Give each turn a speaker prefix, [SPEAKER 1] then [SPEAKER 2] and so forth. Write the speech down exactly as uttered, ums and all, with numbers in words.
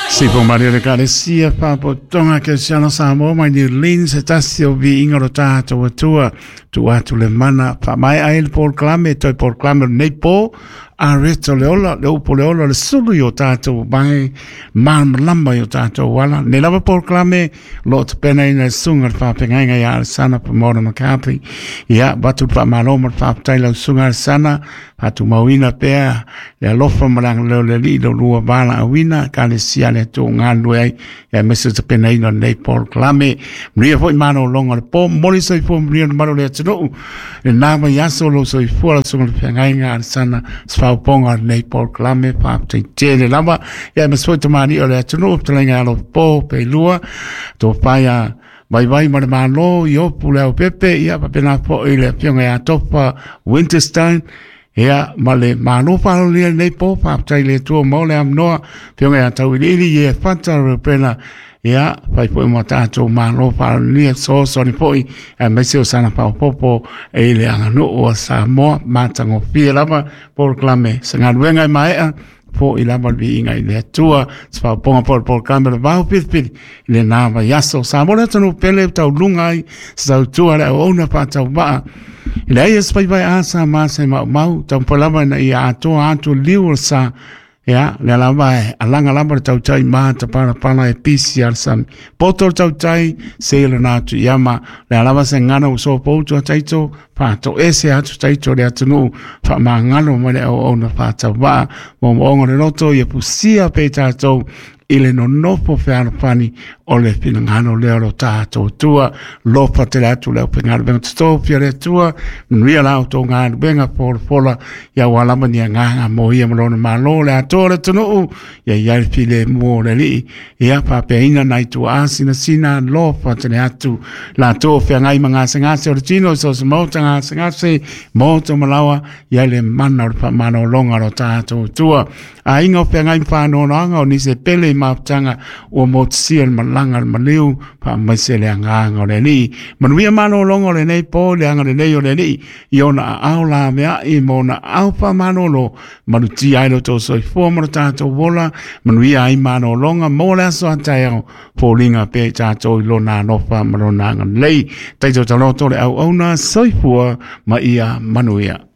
[SPEAKER 1] Sipo Maria le Kalesia Papotonga ke siana Samoa mai New Orleans se tasi o viiga o lo tatou Atua tuu atu le mana faamaea ai le polokalame toe polokalame o lenei po areto le ola le upu o le ola le sulu i o tatou mai malamalama i o tatou ala nei lava polokalame lo o tapenaina le susuga le faafeagaiga ia Alesana Pamona McCarthy ia avatu le faamalo ma le faafetai lau susuga Alesana faatumauina pea le alofa ma le agalelei o le Alii i lo lua valaauina Ekalesia le Atua galulue ai ia aemaise o tapenaina o lenei polokalame manuia foi malologa o le po momoli soifua manuia le mamalu o le atunuu lena vaiaso lou soifua lau susuga le feagaiga Alesana sefaupoga o lenei polokalame faafetai tele lava ia aemaise foi tamalii o le atunuu fetalaiga ia Alopo Peilua tofaia Vaivai ma le Malo i Opu le Aupepe ia faapena foi le afioga ia Tofa Winterstein ia ma le malo faalolia lenei po faafetai le Atua mo le amanoa afioga ia Tauiliili ia Fata Reupena ia fai foi ma tatou malo faalolia fesoasoani foi aemaise o sana faaopoopo i le aganuu a Samoa matagofie lava polokalame se galuega e maea fo'i lava le viiga i le Atua se faaopoopoga foi o le polokalame o le vao filifili i lena vaiaso Samoa le atunuu pele tauluga ai se tautua le auauna faatauvaa i leai e se faivae a sa ma se maumau taumafai lava ina ia atoa atu liu o le sa ia lea lava e alaga lava le tautai ma tapalapala e pisi a le sami poto le tautai se lona atu iama lea lava se gana ua sopoutu a taito faatoese atu taito le atunuu faamagalo mai le auauna faatauvaa moomooga o le loto ia pusia pea i tatou i le nonofo fealofani o le finagalo lea o lo tatou Atua lofa tele atu le aufaigaluega totofi a le Atua manuia la outou galuega folafola ia aua lava ni agaga mo ia ma lona malo le atoa o le atunuu ia i ai le filemu o le Alii ia faapeaina nai tuaa sinasina lofa tele atu latou o feagai ma gasegase o le tino i so o se maota gasegase moto ma laoa ia le mana o le faamalologa o lo tatou Atua aiga o feagai ma faanoanoaga o nisi e pele i mafutaga ua motusia le malaga le maliu faamaise le agaga o le Alii manuia malologa o lenei po le agalelei o le Alii i ona aao laveai ma ona aao faamalolo malutia ai lo outou soifua ma lo tatou ola manuia ai malologa mo le aso a taeao foliga pea i tatou i lona alofa ma lona agalelei taito taloto le auauna soifua ma ia manuia.